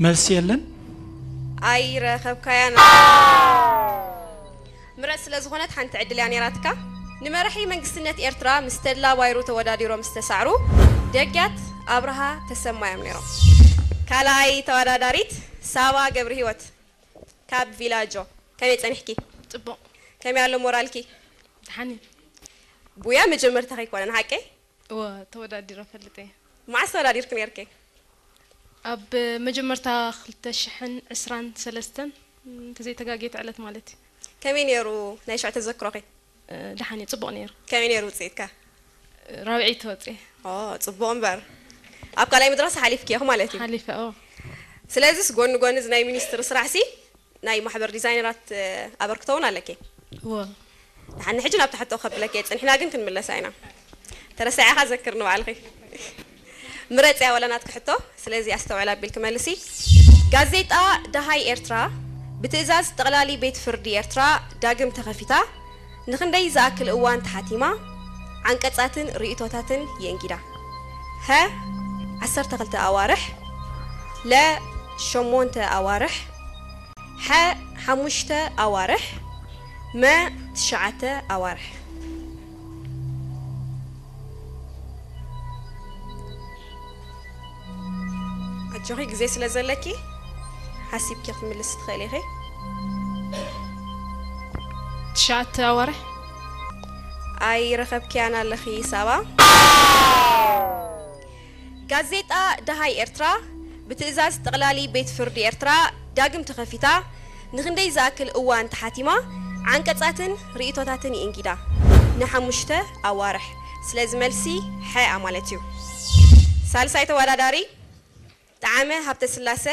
መልሲ የለን። ኣይረኸብካያን። ምረጽ ስለ ዝኾነት ሓንቲ ዕድል እያ ነይራትካ። ንመራሒ መንግስትነት ኤርትራ ምስ ተድላ ባይሩ ተወዳዲሮም ዝተሳዕሩ ደግያት ኣብርሃ ተሰማ እዮም ነይሮም። ካልኣይ ተወዳዳሪት ሳባ ገብረ ህይወት ካብ ቪላጆ። ከመይ ጸኒሕኪ? ጽቡቕ። ከመይ ኣሎ ሞራልኪ? ደሓን እዩ። ቡያ መጀመርታ ከይኮነን ሓቀይ? እወ፣ ተወዳዲረ ፈልጥ እየ። መዓስ ተወዳዲርክ ነርኪ? ኣብ መጀመርታ ክልተ ሽሕን ዕስራን ሰለስተን እንተዘይተጋጌት ዕለት ማለት እዩ። ከመይ ነይሩ ናይ ሽዑ ተዘክሮኺ? እ፣ ደሓን እዩ፣ ጽቡቕ ነይሩ። ከመይ ነይሩ ውፅኢትካ? ራብዒ ተወፅኤ። ኦ፣ ጽቡቕ እምበር ኣብ ካልኣይ መድረኽ ሓሊፍኪ ኢኹ ማለት እዩ። ሓሊፈ ኦ። ስለዚስ ጎኒ ጎኒ እዚ ናይ ሚኒስትሪ ስራሕሲ ናይ ማሕበር ዲዛይነራት እ፣ ኣበርክቶ እውን ኣለኪ። እወ። ንሓኒ ሕጂ ናብቲ ሕቶ ከብለኪ እየ፣ ጽኒሕና ግን ክንምለሳ ኢና። ተረሳዒኻ ዘክር ንባዕልኺ። ምረጽያ ወላ ናትኪ ሕቶ፣ ስለዚ ኣስተውዕል ኣቢልኪ መልሲ። ጋዜጣ ደሃይ ኤርትራ ብትእዛዝ ጠቕላሊ ቤት ፍርዲ ኤርትራ ዳግም ተኸፊታ ንኽንደይ ዝኣክል እዋን ተሓቲማ ዓንቀጻትን ርእይቶታትን የእንጊዳ? ሀ ዓሰርተ ክልተ ኣዋርሕ፣ ለ ሸሞንተ ኣዋርሕ፣ ሓ ሓሙሽተ ኣዋርሕ፣ መ ትሽዓተ ኣዋርሕ። ኣጆኺ ግዜ ስለ ዘለኪ ሓሲብኪ ክትምልስ ትኽእሊ ኢኺ። ትሽዓተ ኣዋርሕ። ኣይረኸብክያን ኣለኺ ሳባ። ጋዜጣ ደሃይ ኤርትራ ብትእዛዝ ጠቕላሊ ቤት ፍርዲ ኤርትራ ዳግም ተኸፊታ ንኽንደይ ዝኣክል እዋን ተሓቲማ ዓንቀጻትን ርእይቶታትን ይእንጊዳ ንሓሙሽተ ኣዋርሕ። ስለዚ መልሲ ሓ ማለት እዩ። ሳልሳይ ተወዳዳሪ ጠዓመ ሃብተስላሰ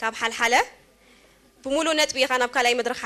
ካብ ሓልሓለ። ብምሉእ ነጥቢ ኢኻ ናብ ካልኣይ መድረኽ